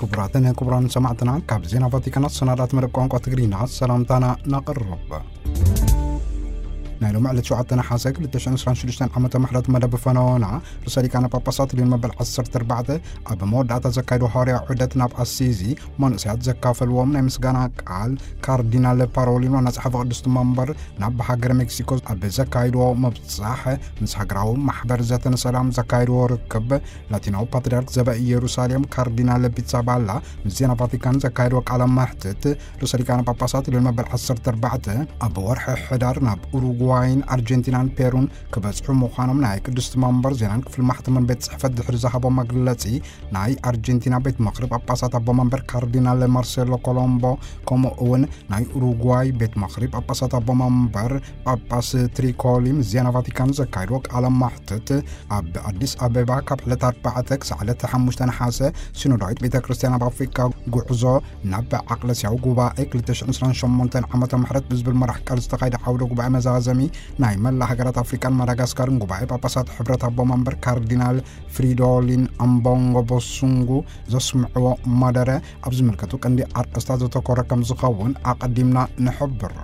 ክቡራትን ክቡራን ሰማዕትና፣ ካብ ዜና ቫቲካን ኣሰናዳት መደብ ቋንቋ ትግርኛ ሰላምታና ነቕርብ። ናይ ሎሚ ዕለት ሸውዓተ ነሓሰ ክልተ ሽሕን ዕስራን ሽዱሽተን ዓመተ ምሕረት መደብ ፈነወና፣ ርእሰ ሊቃነ ጳጳሳት ሊዮን መበል ዓሰርተ ኣርባዕተ ኣብ መወዳእታ ዘካየዶ ሃዋርያ ዑደት ናብ ኣሲዚ፣ መንእሰያት ዘካፈልዎም ናይ ምስጋና ቃል፣ ካርዲናል ፓሮሊን ዋና ጸሓፊ ቅድስቲ መንበር ናብ ሃገረ ሜክሲኮ ኣብ ዘካየድዎ ምብጻሕ፣ ምስ ሃገራዊ ማሕበር ዘተን ሰላም ዘካየድዎ ርክብ፣ ላቲናዊ ፓትርያርክ ዘበ ኢየሩሳሌም ካርዲናል ፒትሳባላ ምስ ዜና ቫቲካን ዘካየድዎ ቃለ መሕትት፣ ርእሰ ሊቃነ ጳጳሳት ሊዮን መበል ዓሰርተ ኣርባዕተ ኣብ ወርሒ ሕዳር ናብ ኡሩጓይን ኣርጀንቲናን ፔሩን ክበጽሑ ምዃኖም ናይ ቅድስቲ መንበር ዜናን ክፍሊ ማሕተምን ቤት ጽሕፈት ድሕሪ ዝሃቦ መግለጺ፣ ናይ ኣርጀንቲና ቤት ምኽሪ ጳጳሳት ኣቦ መንበር ካርዲናል ማርሴሎ ኮሎምቦ፣ ከምኡ እውን ናይ ኡሩጓይ ቤት ምኽሪ ጳጳሳት ኣቦ መንበር ጳጳስ ትሪኮሊ ምስ ዜና ቫቲካን ዘካየድዎ ቃለ መሕትት፣ ኣብ ኣዲስ ኣበባ ካብ ዕለት ኣርባዕተ ክሳዕ ዕለት ሓሙሽተ ነሓሰ ሲኖዳዊት ቤተ ክርስቲያን ኣብ ኣፍሪካ ጉዕዞ ናብ ዓቅለስያዊ ጉባኤ ክልተ ሽሕን ዕስራን ሸሞንተን ዓመተ ምሕረት ብዝብል መራሕ ቃል ዝተኻየደ ዓውደ ጉባኤ መዛዘሚ ናይ መላእ ሃገራት ኣፍሪካን ማዳጋስካርን ጉባኤ ጳጳሳት ሕብረት ኣቦ መንበር ካርዲናል ፍሪዶሊን ኣምቦንጎ ቦሱንጉ ዘስምዕዎ መደረ ኣብ ዝምልከቱ ቀንዲ ኣርእስታት ዘተኮረ ከም ዝኸውን ኣቐዲምና ንሕብር።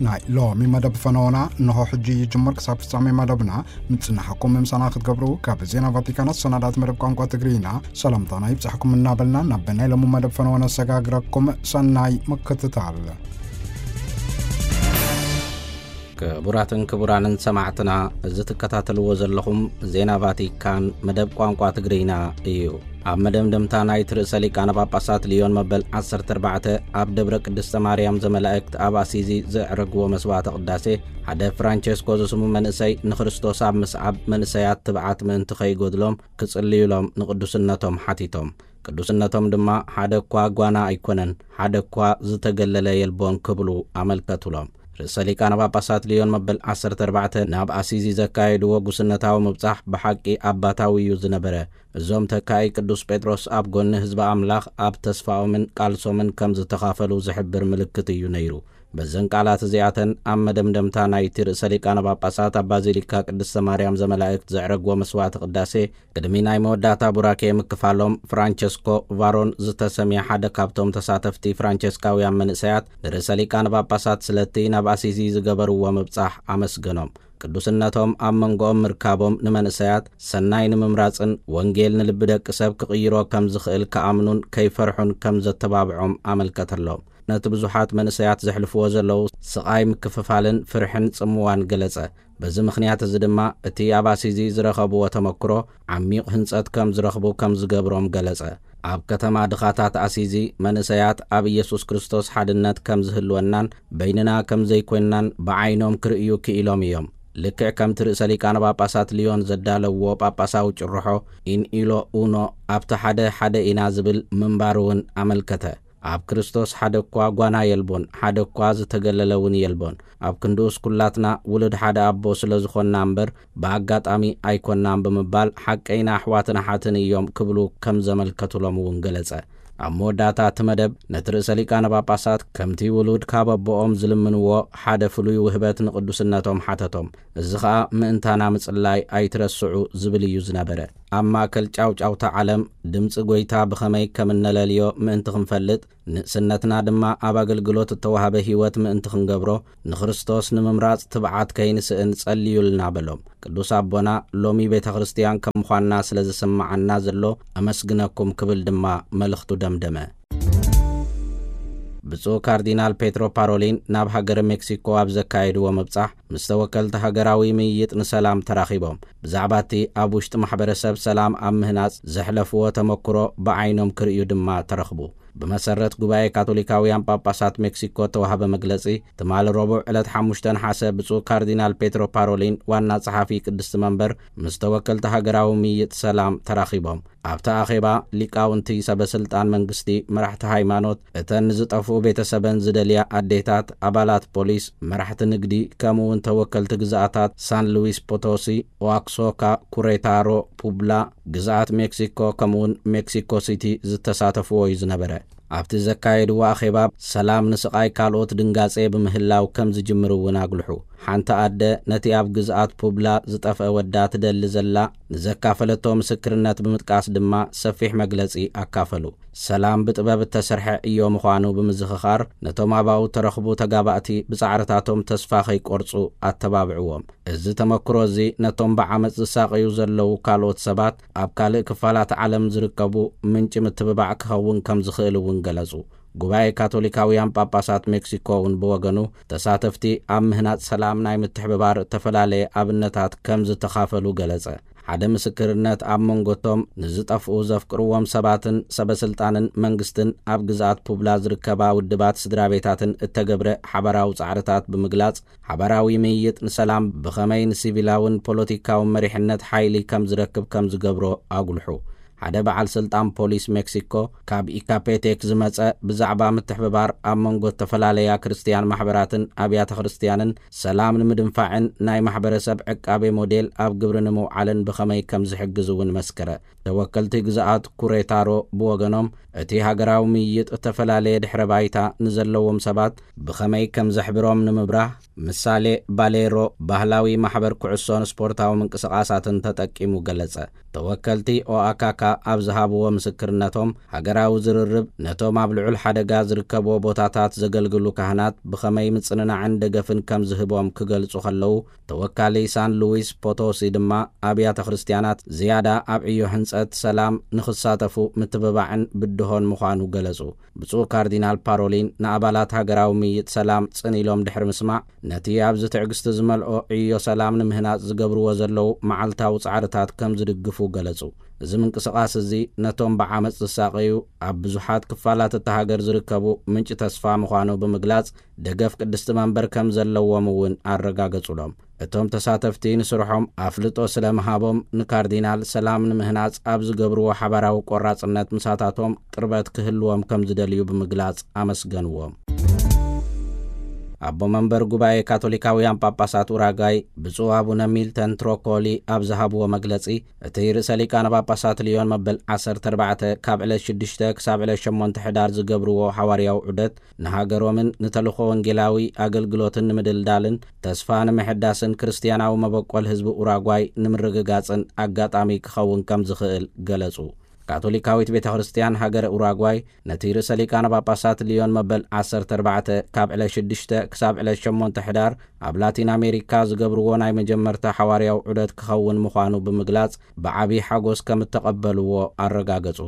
ናይ ሎሚ መደብ ፈነወና እንሆ ሕጂ ይጅምር። ክሳብ ፍጻሜ መደብና ምጽናሕኩም ምሳና ክትገብሩ ካብ ዜና ቫቲካን ኣሰናዳት መደብ ቋንቋ ትግርኛ ሰላምታና ይብጻሕኩም እናበልና፣ ናብ ናይ ሎሚ መደብ ፈነወና ኣሰጋግረኩም። ሰናይ ምክትታል። ክቡራትን ክቡራንን ሰማዕትና፣ እዚ ትከታተልዎ ዘለኹም ዜና ቫቲካን መደብ ቋንቋ ትግርኛ እዩ። ኣብ መደምደምታ ናይቲ ርእሰ ሊቃነ ጳጳሳት ሊዮን መበል ዓሰርተ ኣርባዕተ ኣብ ደብረ ቅድስተ ማርያም ዘመላእክት ኣብ ኣሲዚ ዘዕረግዎ መስዋዕተ ቅዳሴ፣ ሓደ ፍራንቸስኮ ዝስሙ መንእሰይ ንክርስቶስ ኣብ ምስዓብ መንእሰያት ትብዓት ምእንቲ ከይጎድሎም ክጽልዩሎም ንቅዱስነቶም ሓቲቶም። ቅዱስነቶም ድማ ሓደ እኳ ጓና ኣይኮነን፣ ሓደ እኳ ዝተገለለ የልቦን ክብሉ ኣመልከቱሎም። ርእሰ ሊቃነ ጳጳሳት ሊዮን መበል ዓሰርተ ኣርባዕተ ናብ ኣሲዚ ዘካየድዎ ጉስነታዊ ምብጻሕ ብሓቂ ኣባታዊ እዩ ዝነበረ። እዞም ተካኢ ቅዱስ ጴጥሮስ ኣብ ጎኒ ህዝቢ ኣምላኽ ኣብ ተስፋኦምን ቃልሶምን ከም ዝተኻፈሉ ዝሕብር ምልክት እዩ ነይሩ። በዘን ቃላት እዚኣተን ኣብ መደምደምታ ናይቲ ርእሰ ሊቃነ ጳጳሳት ኣብ ባዚሊካ ቅድስተ ማርያም ዘመላእክት ዘዕረግዎ መስዋዕቲ ቅዳሴ ቅድሚ ናይ መወዳእታ ቡራኬ ምክፋሎም፣ ፍራንቸስኮ ቫሮን ዝተሰምየ ሓደ ካብቶም ተሳተፍቲ ፍራንቸስካውያን መንእሰያት ንርእሰ ሊቃነ ጳጳሳት ስለቲ ናብ ኣሲዚ ዝገበርዎ ምብጻሕ ኣመስገኖም። ቅዱስነቶም ኣብ መንጎኦም ምርካቦም ንመንእሰያት ሰናይ ንምምራጽን ወንጌል ንልቢ ደቂ ሰብ ክቕይሮ ከም ዝኽእል ክኣምኑን ከይፈርሑን ከም ዘተባብዖም ኣመልከተሎም። ነቲ ብዙሓት መንእሰያት ዘሕልፍዎ ዘለዉ ስቓይ ምክፍፋልን ፍርሕን ጽምዋን ገለጸ። በዚ ምኽንያት እዚ ድማ እቲ ኣብ ኣሲዚ ዝረኸብዎ ተመክሮ ዓሚቕ ህንጸት ከም ዝረኽቡ ከም ዝገብሮም ገለጸ። ኣብ ከተማ ድኻታት ኣሲዚ መንእሰያት ኣብ ኢየሱስ ክርስቶስ ሓድነት ከም ዝህልወናን በይንና ከም ዘይኮንናን ብዓይኖም ክርእዩ ክኢሎም እዮም። ልክዕ ከምቲ ርእሰ ሊቃነ ጳጳሳት ሊዮን ዘዳለውዎ ጳጳሳዊ ጭርሖ ኢን ኢሎ ኡኖ ኣብቲ ሓደ ሓደ ኢና ዝብል ምንባሩ እውን ኣመልከተ። ኣብ ክርስቶስ ሓደ እኳ ጓና የልቦን፣ ሓደ እኳ ዝተገለለ እውን የልቦን። ኣብ ክንድኡስ ኩላትና ውሉድ ሓደ ኣቦ ስለ ዝኾንና እምበር ብኣጋጣሚ ኣይኮንናን ብምባል ሓቀይና ኣሕዋትን ኣሓትን እዮም ክብሉ ከም ዘመልከቱሎም እውን ገለጸ። ኣብ መወዳእታ እቲ መደብ ነቲ ርእሰ ሊቃነ ጳጳሳት ከምቲ ውሉድ ካብ ኣቦኦም ዝልምንዎ ሓደ ፍሉይ ውህበት ንቅዱስነቶም ሓተቶም። እዚ ኸኣ ምእንታና ምጽላይ ኣይትረስዑ ዝብል እዩ ዝነበረ። ኣብ ማእከል ጫውጫውታ ዓለም ድምጺ ጐይታ ብኸመይ ከም እነለልዮ ምእንቲ ክንፈልጥ፣ ንእስነትና ድማ ኣብ ኣገልግሎት እተዋህበ ህይወት ምእንቲ ክንገብሮ፣ ንክርስቶስ ንምምራጽ ትብዓት ከይንስእን ጸልዩልና በሎም። ቅዱስ ኣቦና ሎሚ ቤተ ክርስቲያን ከም ምዃንና ስለ ዝስምዓና ዘሎ ኣመስግነኩም ክብል ድማ መልእኽቱ ደምደመ። ብፁዕ ካርዲናል ፔትሮ ፓሮሊን ናብ ሃገረ ሜክሲኮ ኣብ ዘካየድዎ ምብጻሕ፣ ምስ ተወከልቲ ሃገራዊ ምይይጥ ንሰላም ተራኺቦም። ብዛዕባ እቲ ኣብ ውሽጢ ማሕበረሰብ ሰላም ኣብ ምህናጽ ዘሕለፍዎ ተመክሮ ብዓይኖም ክርእዩ ድማ ተረኽቡ። ብመሰረት ጉባኤ ካቶሊካውያን ጳጳሳት ሜክሲኮ እተዋህበ መግለጺ፣ ትማሊ ረቡዕ ዕለት ሓሙሽተ ነሓሰ ብፁዕ ካርዲናል ፔትሮ ፓሮሊን ዋና ጸሓፊ ቅድስቲ መንበር ምስ ተወከልቲ ሃገራዊ ምይይጥ ሰላም ተራኺቦም። ኣብቲ ኣኼባ ሊቃውንቲ፣ ሰበ ስልጣን መንግስቲ፣ መራሕቲ ሃይማኖት፣ እተን ንዝጠፍኡ ቤተሰበን ዝደልያ ኣዴታት፣ ኣባላት ፖሊስ፣ መራሕቲ ንግዲ፣ ከምኡ እውን ተወከልቲ ግዝኣታት ሳን ሉዊስ ፖቶሲ፣ ኦኣክሶካ፣ ኩሬታሮ፣ ፑብላ፣ ግዝኣት ሜክሲኮ፣ ከምኡ እውን ሜክሲኮ ሲቲ ዝተሳተፍዎ እዩ ዝነበረ። ኣብቲ ዘካየድዎ ኣኼባ፣ ሰላም ንስቓይ ካልኦት ድንጋጼ ብምህላው ከም ዝጅምር እውን ኣጉልሑ። ሓንቲ ኣደ ነቲ ኣብ ግዝኣት ፑብላ ዝጠፍአ ወዳ ትደሊ ዘላ ንዘካፈለቶ ምስክርነት ብምጥቃስ ድማ ሰፊሕ መግለጺ ኣካፈሉ። ሰላም ብጥበብ እተሰርሐ ዕዮ ምዃኑ ብምዝኽኻር፣ ነቶም ኣባኡ ተረኽቡ ተጋባእቲ ብጻዕርታቶም ተስፋ ከይቆርጹ ኣተባብዕዎም። እዚ ተመክሮ እዚ ነቶም ብዓመጽ ዝሳቐዩ ዘለዉ ካልኦት ሰባት ኣብ ካልእ ክፋላት ዓለም ዝርከቡ ምንጪ ምትብባዕ ክኸውን ከም ዝኽእል እውን ገለጹ። ጉባኤ ካቶሊካውያን ጳጳሳት ሜክሲኮ እውን ብወገኑ፣ ተሳተፍቲ ኣብ ምህናጽ ሰላም ናይ ምትሕብባር እተፈላለየ ኣብነታት ከም ዝተኻፈሉ ገለጸ። ሓደ ምስክርነት ኣብ መንጎቶም ንዝጠፍኡ ዘፍቅርዎም ሰባትን ሰበስልጣንን መንግስትን ኣብ ግዝኣት ፑብላ ዝርከባ ውድባት ስድራ ቤታትን እተገብረ ሓባራዊ ጻዕርታት ብምግላጽ፣ ሓባራዊ ምይይጥ ንሰላም ብኸመይ ንሲቪላውን ፖለቲካውን መሪሕነት ሓይሊ ከም ዝረክብ ከም ዝገብሮ ኣጉልሑ። ሓደ በዓል ስልጣን ፖሊስ ሜክሲኮ፣ ካብ ኢካፔቴክ ዝመጸ፣ ብዛዕባ ምትሕብባር ኣብ መንጎ ዝተፈላለያ ክርስትያን ማሕበራትን ኣብያተ ክርስትያንን ሰላም ንምድንፋዕን ናይ ማሕበረሰብ ዕቃቤ ሞዴል ኣብ ግብሪ ንምውዓልን ብኸመይ ከም ዝሕግዝ እውን መስከረ። ተወከልቲ ግዝኣት ኩሬታሮ ብወገኖም፣ እቲ ሃገራዊ ምይይጥ እተፈላለየ ድሕረ ባይታ ንዘለዎም ሰባት ብኸመይ ከም ዘሕብሮም ንምብራህ፣ ምሳሌ ባሌሮ ባህላዊ ማሕበር ኩዕሶን ስፖርታዊ ምንቅስቓሳትን ተጠቂሙ ገለጸ። ተወከልቲ ኦኣካካ ኣብ ዝሃብዎ ምስክርነቶም፣ ሃገራዊ ዝርርብ ነቶም ኣብ ልዑል ሓደጋ ዝርከብዎ ቦታታት ዘገልግሉ ካህናት ብኸመይ ምጽንናዕን ደገፍን ከም ዝህቦም ክገልጹ ከለዉ፣ ተወካሊ ሳን ሉዊስ ፖቶሲ ድማ፣ ኣብያተ ክርስትያናት ዝያዳ ኣብ ዕዮ ህንጸት ሰላም ንኽሳተፉ ምትብባዕን ብድሆን ምዃኑ ገለጹ። ብፁዕ ካርዲናል ፓሮሊን ንኣባላት ሃገራዊ ምይይጥ ሰላም ጽን ኢሎም ድሕሪ ምስማዕ፣ ነቲ ኣብዚ ትዕግስቲ ዝመልኦ ዕዮ ሰላም ንምህናጽ ዝገብርዎ ዘለዉ መዓልታዊ ጻዕርታት ከም ዝድግፉ ገለጹ። እዚ ምንቅስቓስ እዚ ነቶም ብዓመጽ ዝሳቐዩ፣ ኣብ ብዙሓት ክፋላት እታ ሃገር ዝርከቡ ምንጪ ተስፋ ምዃኑ ብምግላጽ፣ ደገፍ ቅድስቲ መንበር ከም ዘለዎም እውን ኣረጋገጹሎም። እቶም ተሳተፍቲ ንስርሖም ኣፍልጦ ስለ ምሃቦም፣ ንካርዲናል ሰላም ንምህናጽ ኣብ ዝገብርዎ ሓባራዊ ቆራጽነት ምሳታቶም ቅርበት ክህልዎም ከም ዝደልዩ ብምግላጽ ኣመስገንዎም። ኣቦ መንበር ጉባኤ ካቶሊካውያን ጳጳሳት ኡራጋይ ብፁዕ ኣቡነ ሚልተን ትሮኮሊ ኣብ ዝሃብዎ መግለጺ፣ እቲ ርእሰ ሊቃነ ጳጳሳት ልዮን መበል ዓሰርተ ኣርባዕተ ካብ ዕለት ሽዱሽተ ክሳብ ዕለት ሸሞንተ ሕዳር ዝገብርዎ ሓዋርያዊ ዑደት ንሃገሮምን ንተልእኾ ወንጌላዊ ኣገልግሎትን ንምድልዳልን ተስፋ ንምሕዳስን ክርስትያናዊ መበቆል ህዝቢ ኡራጓይ ንምርግጋጽን ኣጋጣሚ ክኸውን ከም ዝኽእል ገለጹ። ካቶሊካዊት ቤተ ክርስትያን ሃገረ ኡራጓይ ነቲ ርእሰ ሊቃነ ጳጳሳት ልዮን መበል ዓሰርተ ኣርባዕተ ካብ ዕለት ሽዱሽተ ክሳብ ዕለት ሸሞንተ ሕዳር ኣብ ላቲን ኣሜሪካ ዝገብርዎ ናይ መጀመርታ ሓዋርያዊ ዑደት ክኸውን ምዃኑ ብምግላጽ፣ ብዓቢ ሓጎስ ከም እተቐበልዎ ኣረጋገጹ።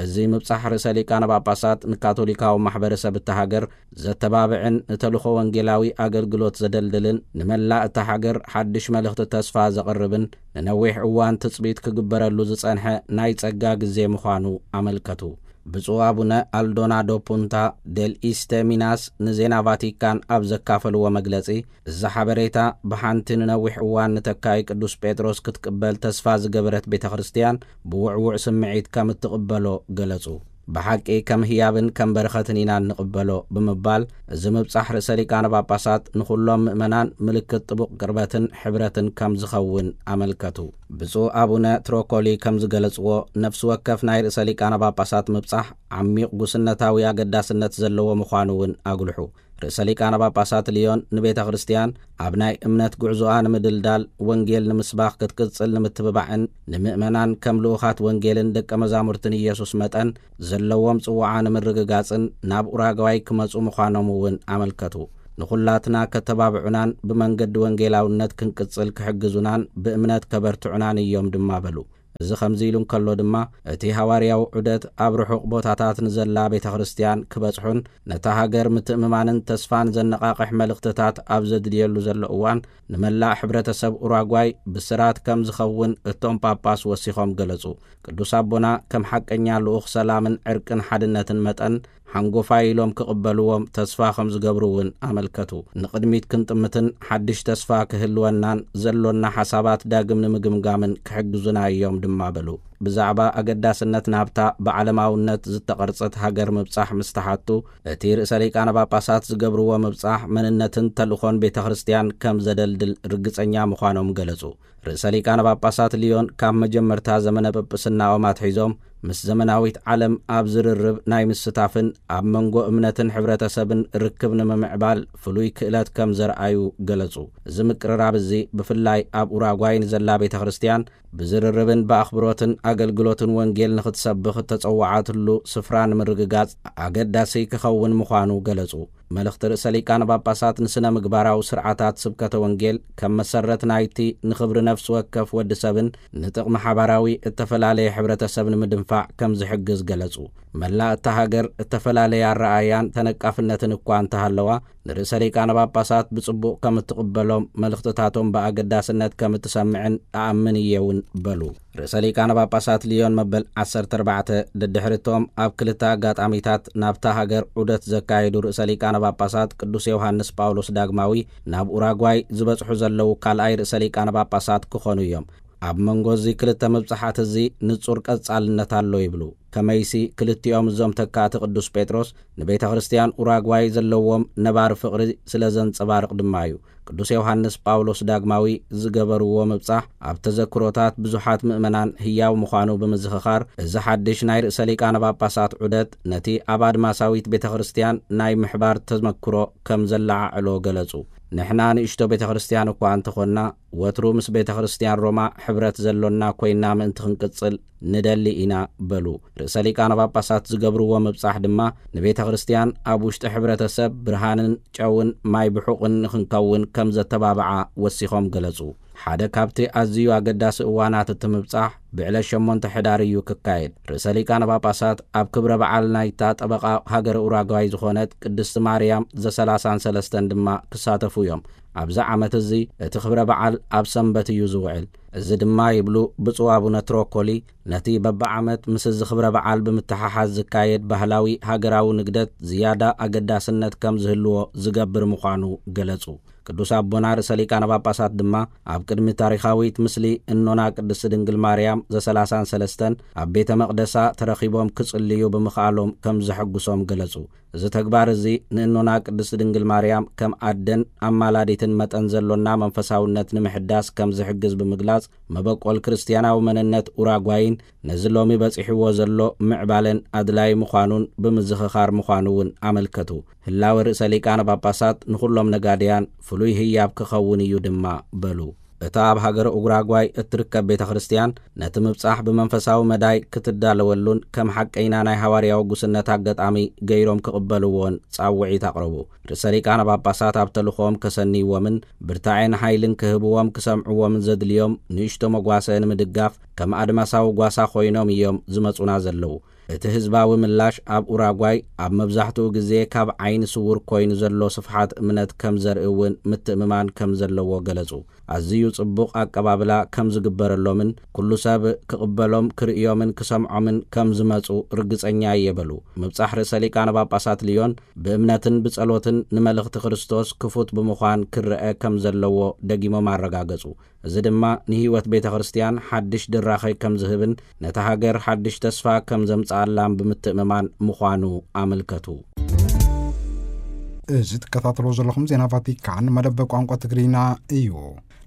እዚ ምብጻሕ ርእሰ ሊቃነ ጳጳሳት ንካቶሊካዊ ማሕበረሰብ እታ ሃገር ዘተባብዕን ንተልእኾ ወንጌላዊ ኣገልግሎት ዘደልድልን ንመላእ እታ ሃገር ሓድሽ መልእኽቲ ተስፋ ዘቕርብን ንነዊሕ እዋን ትጽቢት ክግበረሉ ዝጸንሐ ናይ ጸጋ ግዜ ምዃኑ ኣመልከቱ። ብፁዕ ኣቡነ ኣልዶናዶ ፑንታ ዴል ኢስተ ሚናስ ንዜና ቫቲካን ኣብ ዘካፈልዎ መግለጺ፣ እዚ ሓበሬታ ብሓንቲ ንነዊሕ እዋን ንተካኢ ቅዱስ ጴጥሮስ ክትቅበል ተስፋ ዝገበረት ቤተ ክርስትያን ብውዕዉዕ ስምዒት ከም እትቕበሎ ገለጹ። ብሓቂ ከም ህያብን ከም በረኸትን ኢና እንቕበሎ ብምባል፣ እዚ ምብጻሕ ርእሰ ሊቃነ ጳጳሳት ንኹሎም ምእመናን ምልክት ጥቡቕ ቅርበትን ሕብረትን ከም ዝኸውን ኣመልከቱ። ብፁዕ ኣቡነ ትሮኮሊ ከም ዝገለጽዎ፣ ነፍሲ ወከፍ ናይ ርእሰ ሊቃነ ጳጳሳት ምብጻሕ ዓሚቕ ጉስነታዊ ኣገዳስነት ዘለዎ ምዃኑ እውን ኣጉልሑ። ርእሰ ሊቃነ ጳጳሳት ልዮን ንቤተ ክርስትያን ኣብ ናይ እምነት ጉዕዞኣ ንምድልዳል፣ ወንጌል ንምስባኽ ክትቅጽል ንምትብባዕን ንምእመናን ከም ልኡኻት ወንጌልን ደቀ መዛሙርትን ኢየሱስ መጠን ዘለዎም ጽውዓ ንምርግጋጽን ናብ ኡራጓይ ክመጹ ምዃኖም እውን ኣመልከቱ። ንኹላትና ከተባብዑናን ብመንገዲ ወንጌላውነት ክንቅጽል ክሕግዙናን ብእምነት ከበርትዑናን እዮም ድማ በሉ። እዚ ከምዚ ኢሉ እንከሎ ድማ፣ እቲ ሃዋርያዊ ዑደት ኣብ ርሑቕ ቦታታት ንዘላ ቤተ ክርስትያን ክበጽሑን ነታ ሃገር ምትእምማንን ተስፋን ዘነቓቕሕ መልእኽትታት ኣብ ዘድልየሉ ዘሎ እዋን፣ ንመላእ ሕብረተሰብ ኡራጓይ ብስራት ከም ዝኸውን እቶም ጳጳስ ወሲኾም ገለጹ። ቅዱስ ኣቦና ከም ሓቀኛ ልኡኽ ሰላምን ዕርቅን ሓድነትን መጠን፣ ሓንጎፋይ ኢሎም ክቕበልዎም ተስፋ ከም ዝገብሩ እውን ኣመልከቱ። ንቕድሚት ክንጥምትን ሓድሽ ተስፋ ክህልወናን ዘሎና ሓሳባት ዳግም ንምግምጋምን ክሕግዙና እዮም ድማ በሉ። ብዛዕባ ኣገዳስነት ናብታ ብዓለማውነት ዝተቐርጸት ሃገር ምብጻሕ ምስ ተሓቱ፣ እቲ ርእሰ ሊቃነ ጳጳሳት ዝገብርዎ ምብጻሕ መንነትን ተልእኾን ቤተ ክርስቲያን ከም ዘደልድል ርግጸኛ ምዃኖም ገለጹ። ርእሰ ሊቃነ ጳጳሳት ሊዮን ካብ መጀመርታ ዘመነ ጵጵስናኦም ኣትሒዞም ምስ ዘመናዊት ዓለም ኣብ ዝርርብ ናይ ምስታፍን ኣብ መንጎ እምነትን ሕብረተሰብን ርክብ ንምምዕባል ፍሉይ ክእለት ከም ዘርኣዩ ገለጹ። እዚ ምቅርራብ እዚ ብፍላይ ኣብ ኡራጓይ ንዘላ ቤተ ክርስቲያን ብዝርርብን ብኣኽብሮትን ኣገልግሎትን ወንጌል ንኽትሰብኽ እተጸዋዓትሉ ስፍራ ንምርግጋጽ ኣገዳሲ ክኸውን ምዃኑ ገለጹ። መልእኽቲ ርእሰ ሊቃነ ጳጳሳት ንስነ ምግባራዊ ስርዓታት ስብከተ ወንጌል ከም መሰረት ናይቲ ንኽብሪ ነፍሲ ወከፍ ወዲ ሰብን ንጥቕሚ ሓባራዊ እተፈላለየ ሕብረተሰብ ንምድንፋዕ ከም ዝሕግዝ ገለጹ። መላእ እታ ሃገር እተፈላለየ ኣረኣእያን ተነቃፍነትን እኳ እንተሃለዋ፣ ንርእሰ ሊቃነ ጳጳሳት ብጽቡቕ ከም እትቕበሎም፣ መልእኽትታቶም ብኣገዳስነት ከም እትሰምዕን እኣምን እየ እውን በሉ። ርእሰ ሊቃነ ጳጳሳት ሊዮን መበል ዓሰርተ ኣርባዕተ ደድሕርቶም ኣብ ክልተ ኣጋጣሚታት ናብታ ሃገር ዑደት ዘካየዱ ርእሰ ሊቃነ ጳጳሳት ቅዱስ ዮሃንስ ጳውሎስ ዳግማዊ ናብ ኡራጓይ ዝበጽሑ ዘለዉ ካልኣይ ርእሰ ሊቃነ ጳጳሳት ክኾኑ እዮም። ኣብ መንጎ እዚ ክልተ ምብጻሓት እዚ ንጹር ቀጻልነት ኣሎ ይብሉ። ከመይሲ ክልቲኦም እዞም ተካእቲ ቅዱስ ጴጥሮስ ንቤተ ክርስቲያን ኡራጓይ ዘለዎም ነባሪ ፍቕሪ ስለ ዘንጸባርቕ ድማ እዩ። ቅዱስ ዮሃንስ ጳውሎስ ዳግማዊ ዝገበርዎ ምብጻሕ ኣብ ተዘክሮታት ብዙሓት ምእመናን ህያው ምዃኑ ብምዝኽኻር፣ እዚ ሓድሽ ናይ ርእሰ ሊቃነ ጳጳሳት ዑደት ነቲ ኣብ ኣድማሳዊት ቤተ ክርስቲያን ናይ ምሕባር ተመክሮ ከም ዘለዓዕሎ ገለጹ። ንሕና ንእሽቶ ቤተ ክርስቲያን እኳ እንተኾንና፣ ወትሩ ምስ ቤተ ክርስቲያን ሮማ ሕብረት ዘሎና ኮይና ምእንቲ ክንቅጽል ንደሊ ኢና በሉ። ርእሰ ሊቃነ ጳጳሳት ዝገብርዎ ምብጻሕ ድማ ንቤተ ክርስቲያን ኣብ ውሽጢ ሕብረተሰብ ብርሃንን ጨውን ማይ ብሑቕን ንኽንከውን ከም ዘተባብዓ ወሲኾም ገለጹ። ሓደ ካብቲ ኣዝዩ ኣገዳሲ እዋናት እቲ ምብጻሕ ብዕለት ሸሞንተ ሕዳር እዩ ክካየድ። ርእሰ ሊቃነ ጳጳሳት ኣብ ክብረ በዓል ናይታ ጠበቓ ሃገረ ኡራጓይ ዝኾነት ቅድስቲ ማርያም ዘሰላሳን ሰለስተን ድማ ክሳተፉ እዮም። ኣብዚ ዓመት እዚ እቲ ክብረ በዓል ኣብ ሰንበት እዩ ዝውዕል። እዚ ድማ ይብሉ ብፁዕ ኣቡነ ትሮኮሊ፣ ነቲ በብዓመት ምስዚ ክብረ በዓል ብምትሕሓዝ ዝካየድ ባህላዊ ሃገራዊ ንግደት ዝያዳ ኣገዳስነት ከም ዝህልዎ ዝገብር ምዃኑ ገለጹ። ቅዱስ ኣቦና ርእሰ ሊቃነ ጳጳሳት ድማ ኣብ ቅድሚ ታሪኻዊት ምስሊ እኖና ቅድስቲ ድንግል ማርያም ዘሰላሳን ሰለስተን ኣብ ቤተ መቕደሳ ተረኺቦም ክጽልዩ ብምኽኣሎም ከም ዘሐጉሶም ገለጹ። እዚ ተግባር እዚ ንእኖና ቅድስቲ ድንግል ማርያም ከም ኣደን ኣማላዲትን መጠን ዘሎና መንፈሳውነት ንምሕዳስ ከም ዝሕግዝ ብምግላጽ፣ መበቆል ክርስትያናዊ መንነት ኡራጓይን ነዚ ሎሚ በጺሕዎ ዘሎ ምዕባለን ኣድላይ ምዃኑን ብምዝኽኻር ምዃኑ እውን ኣመልከቱ። ህላወ ርእሰ ሊቃነ ጳጳሳት ንኹሎም ነጋድያን ፍሉይ ህያብ ክኸውን እዩ ድማ በሉ። እታ ኣብ ሃገረ ኡራጓይ እትርከብ ቤተ ክርስቲያን ነቲ ምብጻሕ ብመንፈሳዊ መዳይ ክትዳለወሉን ከም ሓቀይና ናይ ሃዋርያዊ ጉስነት ኣጋጣሚ ገይሮም ክቕበልዎን ጻውዒት ኣቕረቡ። ርእሰ ሊቃነ ጳጳሳት ኣብ ተልእኾኦም ከሰንይዎምን ብርታዔን ሓይልን ክህብዎም ክሰምዕዎምን ዘድልዮም ንእሽቶ መጓሰ ንምድጋፍ ከም ኣድማሳዊ ጓሳ ኮይኖም እዮም ዝመጹና ዘለዉ። እቲ ህዝባዊ ምላሽ ኣብ ኡራጓይ ኣብ መብዛሕትኡ ግዜ ካብ ዓይኒ ስዉር ኮይኑ ዘሎ ስፍሓት እምነት ከም ዘርኢ እውን ምትእምማን ከም ዘለዎ ገለጹ። ኣዝዩ ጽቡቕ ኣቀባብላ ከም ዝግበረሎምን ኩሉ ሰብ ክቕበሎም፣ ክርእዮምን ክሰምዖምን ከም ዝመጹ ርግጸኛ እየ በሉ። ምብጻሕ ርእሰ ሊቃነ ጳጳሳት ልዮን ብእምነትን ብጸሎትን ንመልእኽቲ ክርስቶስ ክፉት ብምዃን ክረአ ከም ዘለዎ ደጊሞም ኣረጋገጹ። እዚ ድማ ንህይወት ቤተ ክርስቲያን ሓድሽ ድራኸ ከም ዝህብን ነታ ሃገር ሓድሽ ተስፋ ከም ዘምጽኣላን ብምትእምማን ምዃኑ ኣመልከቱ። እዚ ትከታተልዎ ዘለኹም ዜና ቫቲካን መደብ ቋንቋ ትግርኛ እዩ።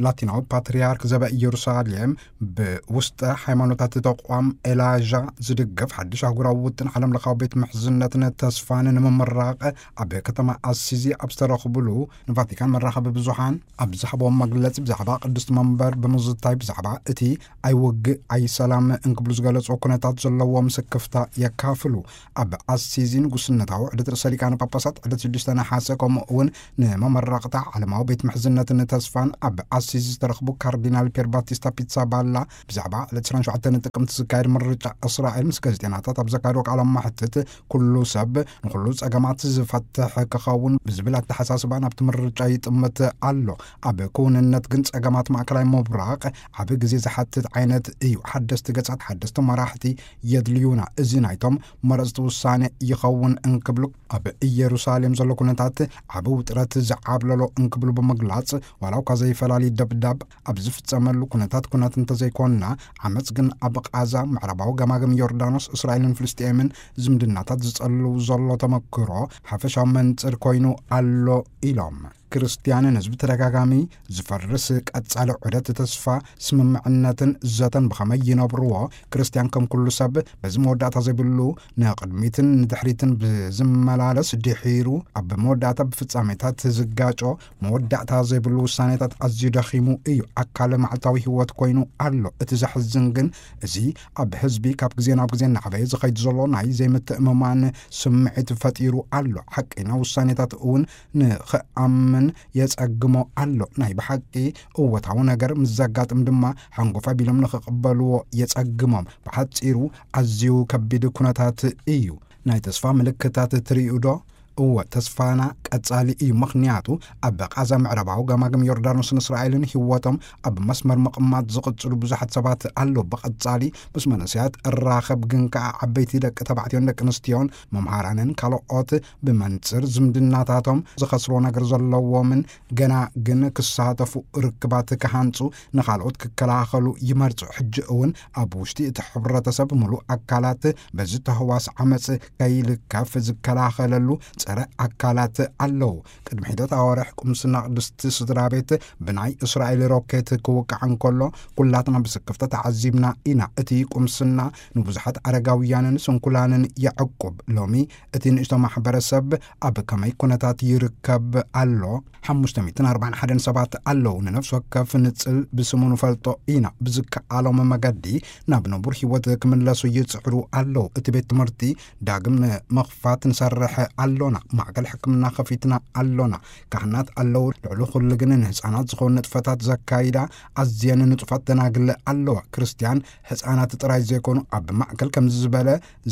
ላቲናዊ ፓትርያርክ ዘበ ኢየሩሳሌም ብውስጠ ሃይማኖታት ተቋም ኤላዣ ዝድገፍ ሓድሽ ኣህጉራዊ ውጥን ዓለም ለኻዊ ቤት ምሕዝነትን ተስፋን ንምምራቕ ኣብ ከተማ ኣሲዚ ኣብ ዝተረኽብሉ ንቫቲካን መራኸቢ ብዙሃን ኣብ ዝሃብዎም መግለጺ፣ ብዛዕባ ቅድስቲ መንበር ብምዝታይ፣ ብዛዕባ እቲ ኣይውግእ ኣይሰላም እንክብሉ ዝገለጽዎ ኩነታት ዘለዎም ስክፍታ የካፍሉ። ኣብ ኣሲዚ ንጉስነታዊ ዕለት ርእሰ ሊቃነ ጳጳሳት ዕለት ሽዱሽተ ነሓሰ፣ ከምኡ እውን ንመመረቕታ ዓለማዊ ቤት ምሕዝነትን ተስፋን ኣብ ኣሲዚ ዝተረኽቡ ካርዲናል ፒየር ባቲስታ ፒትሳባላ፣ ብዛዕባ ዕለት ዕስራን ሸውዓተን ጥቅምቲ ዝካየድ ምርጫ እስራኤል ምስ ጋዜጠኛታት ኣብ ዘካየድዎ ቃለ መሕትት፣ ኩሉ ሰብ ንኹሉ ጸገማት ዝፈትሕ ክኸውን ብዝብል ኣተሓሳስባ ናብቲ ምርጫ ይጥምት ኣሎ። ኣብ ክውንነት ግን ጸገማት ማእከላይ ምብራቕ ዓቢ ግዜ ዝሓትት ዓይነት እዩ። ሓደስቲ ገጻት፣ ሓደስቲ መራሕቲ የድልዩና። እዚ ናይቶም መረጽቲ ውሳኔ ይኸውን እንክብሉ ኣብ ኢየሩሳሌም ዘሎ ኩነታት ታት ዓቢ ውጥረት ዝዓብለሎ እንክብሉ ብምግላጽ፣ ዋላ እኳ ዘይፈላሊ ደብዳብ ኣብ ዝፍጸመሉ ኩነታት ኩነት እንተዘይኮንና፣ ዓመጽ ግን ኣብ ቃዛ፣ ምዕራባዊ ገማግም ዮርዳኖስ፣ እስራኤልን ፍልስጤምን ዝምድናታት ዝጸልው ዘሎ ተመክሮ ሓፈሻዊ መንጽር ኮይኑ ኣሎ ኢሎም። ክርስትያንን ህዝቢ ተደጋጋሚ ዝፈርስ ቀጻሊ ዑደት ተስፋ፣ ስምምዕነትን ዘተን ብኸመይ ይነብርዎ? ክርስትያን ከም ኩሉ ሰብ በዚ መወዳእታ ዘይብሉ ንቕድሚትን ንድሕሪትን ብዝመላለስ ድሒሩ ኣብ መወዳእታ ብፍጻሜታት ዝጋጮ መወዳእታ ዘይብሉ ውሳኔታት ኣዝዩ ደኺሙ እዩ። ኣካል መዓልታዊ ህይወት ኮይኑ ኣሎ። እቲ ዘሕዝን ግን እዚ ኣብ ህዝቢ ካብ ግዜ ናብ ግዜ እናዓበየ ዝኸይድ ዘሎ ናይ ዘይምትእምማን ስምዒት ፈጢሩ ኣሎ። ሓቀኛ ውሳኔታት እውን ንኽኣምን የጸግሞ ኣሎ። ናይ ብሓቂ እወታዊ ነገር ምስ ዘጋጥም ድማ ሓንጎፍ ኣቢሎም ንኽቕበልዎ የጸግሞም። ብሓጺሩ ኣዝዩ ከቢድ ኩነታት እዩ። ናይ ተስፋ ምልክታት ትርእዩ ዶ? እወ፣ ተስፋና ቀጻሊ እዩ። ምኽንያቱ ኣብ ቃዛ፣ ምዕራባዊ ገማግም ዮርዳኖስን እስራኤልን ህይወቶም ኣብ መስመር ምቕማጥ ዝቕጽሉ ብዙሓት ሰባት ኣለዉ። ብቐጻሊ ምስ መንእሰያት እራኸብ፣ ግን ከኣ ዓበይቲ ደቂ ተባዕትዮን ደቂ ኣንስትዮን፣ መምሃራንን ካልኦት ብመንጽር ዝምድናታቶም ዝኸስርዎ ነገር ዘለዎምን ገና ግን ክሳተፉ ርክባት ክሃንጹ፣ ንኻልኦት ክከላኸሉ ይመርጹ። ሕጂ እውን ኣብ ውሽጢ እቲ ሕብረተሰብ ምሉእ ኣካላት በዚ ተህዋስ ዓመጽ ከይልከፍ ዝከላኸለሉ ጸረ ኣካላት ኣለዉ። ቅድሚ ሒደት ኣዋርሕ ቁምስና ቅድስቲ ስድራ ቤት ብናይ እስራኤል ሮኬት ክውቃዕ እንከሎ፣ ኩላትና ብስክፍታ ተዓዚብና ኢና። እቲ ቁምስና ንብዙሓት ኣረጋውያንን ስንኩላንን የዕቁብ። ሎሚ እቲ ንእሽቶ ማሕበረሰብ ኣብ ከመይ ኩነታት ይርከብ ኣሎ? ሓሙሽተ ሚእትን ኣርባዓን ሓደን ሰባት ኣለዉ። ንነፍሲ ወከፍ ንጽል ብስሙ ንፈልጦ ኢና። ብዝከኣሎም መገዲ ናብ ንቡር ህይወት ክምለሱ ይጽዕሩ ኣለዉ። እቲ ቤት ትምህርቲ ዳግም ንምኽፋት ንሰርሕ ኣሎና። ማእከል ሕክምና ከፊትና ኣሎና። ካህናት ኣለዉ። ልዕሊ ኩሉ ግን ንህጻናት ዝኾኑ ንጥፈታት ዘካይዳ ኣዝየን ንጡፋት ደናግል ኣለዋ። ክርስትያን ህጻናት ጥራይ ዘይኮኑ፣ ኣብ ማእከል ከምዚ ዝበለ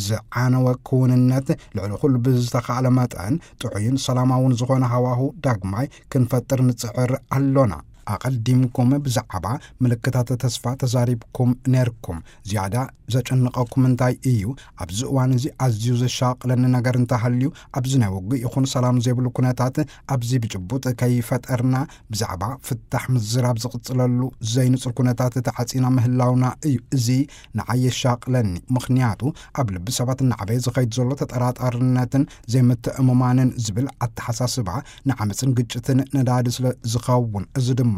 ዝዓነወ ክውንነት፣ ልዕሊ ኩሉ ብዝተኻእለ መጠን ጥዑይን ሰላማውን ዝኾነ ሃዋሁ ዳግማይ ክንፈጥር ንጽዕር ኣሎና። ኣቐዲምኩም ብዛዕባ ምልክታት ተስፋ ተዛሪብኩም ነርኩም። ዝያዳ ዘጨንቐኩም እንታይ እዩ? ኣብዚ እዋን እዚ ኣዝዩ ዘሻቕለኒ ነገር እንተሃልዩ፣ ኣብዚ ናይ ውግእ ይኹን ሰላም ዘይብሉ ኩነታት፣ ኣብዚ ብጭቡጥ ከይፈጠርና ብዛዕባ ፍታሕ ምዝራብ ዝቕጽለሉ ዘይንጹር ኩነታት ተዓጺና ምህላውና እዩ። እዚ ንዓይ የሻቕለኒ፣ ምኽንያቱ ኣብ ልቢ ሰባት እናዓበየ ዝኸይድ ዘሎ ተጠራጣርነትን ዘይምትእምማንን ዝብል ኣተሓሳስባ ንዓመጽን ግጭትን ነዳዲ ስለ ዝኸውን፣ እዚ ድማ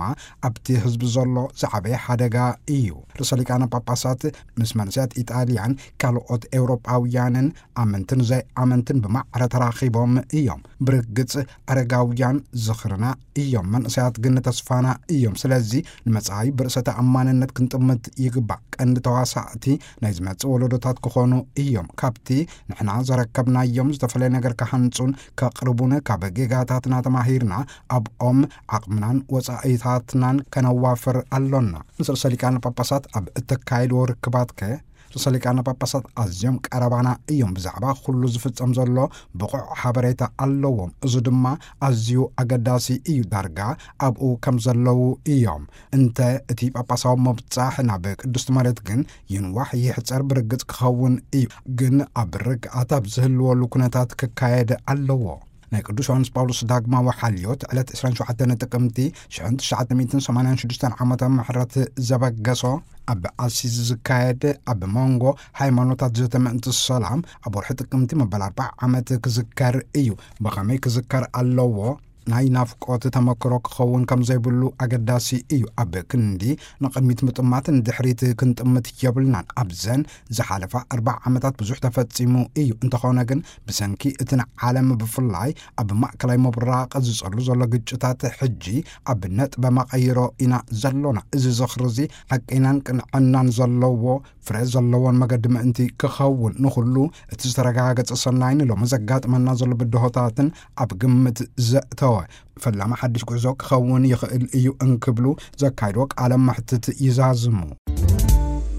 ኣብቲ ህዝቢ ዘሎ ዝዓበየ ሓደጋ እዩ። ርእሰ ሊቃነ ጳጳሳት ምስ መንእሰያት ኢጣልያን ካልኦት ኤውሮጳውያንን ኣመንትን ዘይኣመንትን ብማዕረ ተራኺቦም እዮም። ብርግጽ ኣረጋውያን ዝኽርና እዮም፣ መንእሰያት ግን ተስፋና እዮም። ስለዚ ንመጻኢ ብርእሰ ተኣማንነት ክንጥምት ይግባእ። ቀንዲ ተዋሳእቲ ናይ ዝመጽእ ወለዶታት ክኾኑ እዮም። ካብቲ ንሕና ዘረከብናዮም ዝተፈለየ ነገር ክሃንጹን ከቕርቡን ካብ ጌጋታትና ተማሂርና ኣብኦም ዓቕምናን ወጻኢታትናን ከነዋፍር ኣሎና። ምስ ርእሰ ሊቃነ ጳጳሳት ኣብ እተካየድዎ ርክባትከ? ርእሰ ሊቃነ ጳጳሳት ኣዝዮም ቀረባና እዮም። ብዛዕባ ኩሉ ዝፍጸም ዘሎ ብቑዕ ሓበሬታ ኣለዎም። እዚ ድማ ኣዝዩ ኣገዳሲ እዩ። ዳርጋ ኣብኡ ከም ዘለዉ እዮም። እንተ እቲ ጳጳሳዊ ምብጻሕ ናብ ቅድስቲ መሬት ግን ይንዋሕ ይሕጸር ብርግጽ ክኸውን እዩ። ግን ኣብ ርግኣት ኣብ ዝህልወሉ ኩነታት ክካየድ ኣለዎ። ናይ ቅዱስ ዮሃንስ ጳውሎስ ዳግማዊ ሓልዮት ዕለት ዕስራን ሸውዓተን ጥቅምቲ ሽሕን ትሽዓተ ሚእትን ሰማንያን ሽዱሽተን ዓመተ ምሕረት ዘበገሶ ኣብ ኣሲዝ ዝካየድ ኣብ መንጎ ሃይማኖታት ዘተ ምእንቲ ሰላም ኣብ ወርሒ ጥቅምቲ መበል ኣርባዓ ዓመት ክዝከር እዩ። ብኸመይ ክዝከር ኣለዎ? ናይ ናፍቆት ተመክሮ ክኸውን ከም ዘይብሉ ኣገዳሲ እዩ። ኣብ ክንዲ ንቕድሚት ምጥማት ንድሕሪት ክንጥምት የብልናን። ኣብዘን ዝሓለፋ ኣርባዓ ዓመታት ብዙሕ ተፈጺሙ እዩ። እንተኾነ ግን ብሰንኪ እቲ ንዓለም ብፍላይ ኣብ ማእከላይ ምብራቕ ዝጸሉ ዘሎ ግጭታት ሕጂ ኣብ ነጥበ መቐይሮ ኢና ዘሎና። እዚ ዝኽሪ እዚ ሓቀይናን ቅንዕናን ዘለዎ ፍረ ዘለዎን መገዲ ምእንቲ ክኸውን ንኹሉ እቲ ዝተረጋገጸ ሰናይ ንሎሚ ዘጋጥመና ዘሎ ብድሆታትን ኣብ ግምት ዘእተወ ፈላሚ ሓድሽ ጉዕዞ ክኸውን ይኽእል እዩ እንክብሉ ዘካይድዎ ቃለ መሕትት ይዛዝሙ።